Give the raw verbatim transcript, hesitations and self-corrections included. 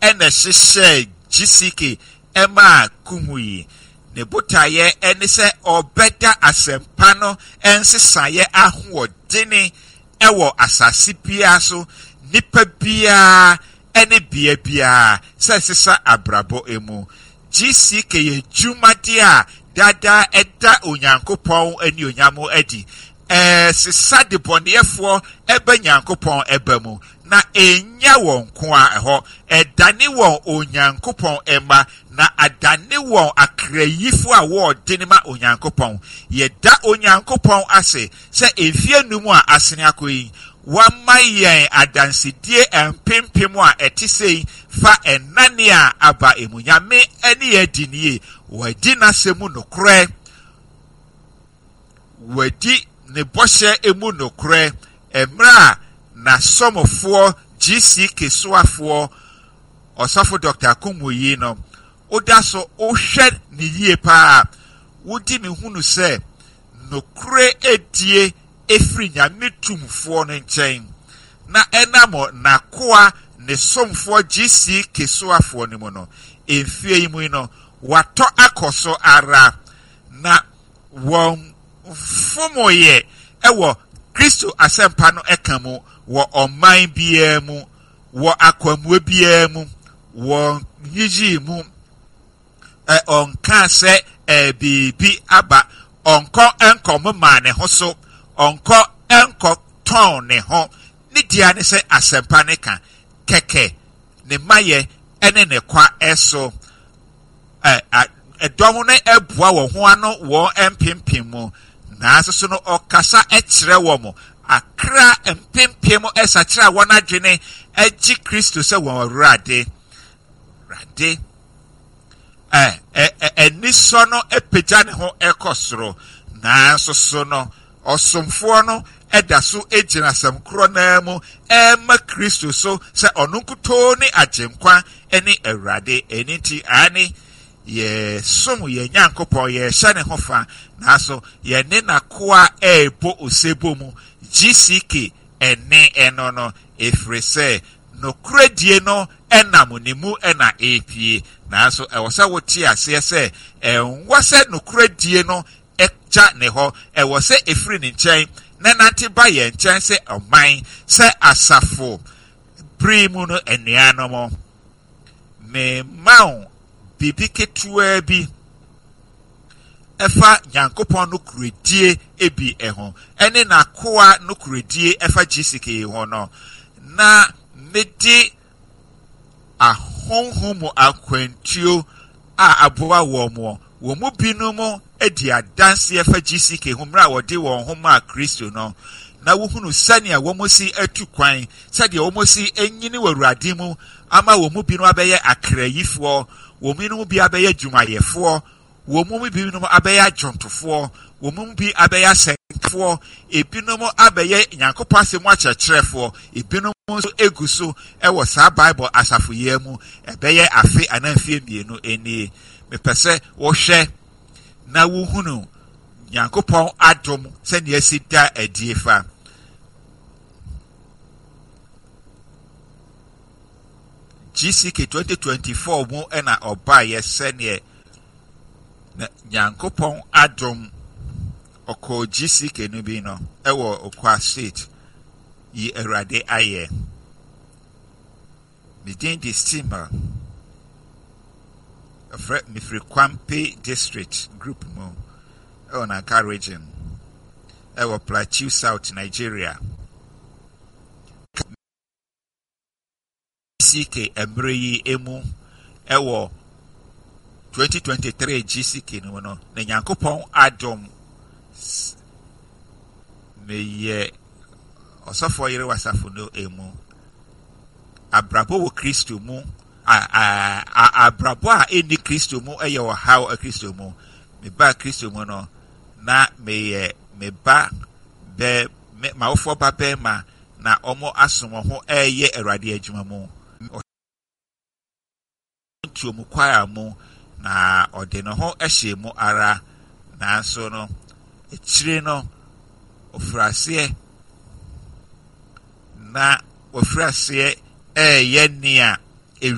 Ɛna ɛhyehyɛɛ G C K ɛmaa Kumuyi. Ne botaeɛ ɛne sɛ ɔbɛda asɛmpa no nsesaeɛ ahoɔdene ɛwɔ asase biara so, nipa biara ɛne bea biara sɛ ɛsesa abrabɔ emu. G C K yɛ dwumadeɛ a dada ɛda Onyankopɔn anuonyam adi, ɛsesa debɔneyɛfoɔ ɛbɛ Nyankopɔn ɛba mu, na ɛnya wɔn ko a ɛhɔ ɛdane wɔn Onyankopɔn ɛma, na adane wɔn akrayifoɔ a wɔɔde ne ma Onyankopɔn. Yɛda Onyankopɔn ase sɛ mfie num a asene akɔ yi, wama yɛn adansedie mpempem a ɛte sei fa ɛnane a aba emu. Nyame ɛne yɛ di nie, wɔadi n'asɛm mu nokorɛ, wɔadi ne bɔhyɛ emu nokorɛ. Mmerɛ a n'asɔmfoɔ G C K soafoɔ Ɔsɔfo Doctor Kumuyi no, woda so wohwɛ ne yie paa, wodi ne hunu sɛ nokorɛ edie efiri Nyame tumfoɔ no nkyɛn, na ɛnam n'akoa ne somfoɔ G C K soafoɔ no mu no, mfie yi mu yi no, watɔ akɔ so ara na wɔn mfomoyɛ ɛwɔ Kristo asɛmpa no ɛka mu wɔ ɔman biara mu, wɔ akwammue biara mu, wɔ nyigyi mu. Ɛ ɔnka sɛ ɛ biribi aba, ɔnkɔ nkɔ maa ne ho so, ɔnkɔ nkɔ tɔn ne ho. Ne deɛ ne sɛ asɛmpa ne ka kɛkɛ, ne mayɛ ɛne ne kwa ɛso. Ɛ ɛdɔm no ɛboa wɔn ho ano wɔn mpempem mu, nanso so no ɔkasa ɛkyerɛ wɔn akra mpempem ɛsakyerɛ a wɔn adwene ɛgye Kristo sɛ wɔn Awurade. Awurade ɛ ɛ anisɔ no apagya ne ho ɛkɔ soro, nanso so no ɔsomfoɔ no ɛda so gyina asɛm korɔ naa mu ɛma Kristo so sɛ ɔno nkutoo ne Agyenkwa ne Awurade. Ɛno nti ane yɛsom yɛn Nyankopɔn, yɛhyɛ ne ho fa, nanso yɛne n'akoa ɛrebɔ osebɔ mu. G C K ɛne ɛno no, ɛfiri sɛ nokorɛdie no ɛnam ne mu ɛna ɛrepie, nanso ɛwɔ sɛ wote aseɛ sɛ ɛnwɔ sɛ nokorɛdie no ɛgya ne hɔ, ɛwɔ sɛ ɛfiri ne nkyɛn na nante ba yɛn nkyɛn sɛ ɔman, sɛ asafo bere mu no. Anuanom, mema wo biribi ketewaa bi ɛfa Nyankopɔn no kuredie ebi ɛho ɛne n'akoa no kuredie ɛfa G C K ho no, na mede ahonhom mu akwantuo a aboa wɔn mo wɔn mu binom adi adanseɛ fa G C K ho mmerɛ a wɔde wɔn ho maa Kristo no, na wohunu sɛnea wɔn si atu kwan, sɛdeɛ wɔn si anyini wɔ Awurade mu, ama wɔn mu binom abɛyɛ akrayifoɔ, wɔn mu bi abɛyɛ adwumayɛfoɔ, wɔn mu binom abɛyɛ adwontofoɔ, wɔn mu bi abɛyɛ asɛnkafoɔ, ebinom abɛyɛ Nyankopɔn asɛm mu akyerɛkyerɛfoɔ, ebinom nso egu so ɛwɔ saa Bible asafo yi mu. Ɛbɛyɛ afe anaa mfie mmienu nie. Mepɛ sɛ wɔhwɛ na wohunu Nyankopɔn adom sɛnea esi da adie fa G C K twenty twenty-four mu. Ɛna ɔbaayɛ sɛneɛ na Nyankopɔn adom ɔkɔɔ G C K no bi no ɛwɔ Okwa State yi. Awurade ayɛ. Me din de Steamer, ɛfrɛ mefiri Kwampe District Group mu ɛwɔ Nanka Region, ɛwɔ Plateau South, Nigeria. G C K mmerɛ yi emu ɛwɔ twenty twenty-three G C K no mu no, na Nyankopɔn adom meyɛ ɔsɔfoɔ yere wasafo no emu. Abrabɔ wɔ Kristo mu, abrabɔ a ɛnni Kristo mu ɛyɛ ɔhaw. Kristo mu, meba Kristo mu no, na meyɛ me ba bɛ me m'awofoɔ ba bɛrima na wɔn asom wɔn ho ɛreyɛ Awurade adwuma mu ntuo kwaya mu, na ɔde ne ho hyɛ mu ara. Nanso no akyire no ofiri aseɛ na ofiri aseɛ ɛreyɛ nea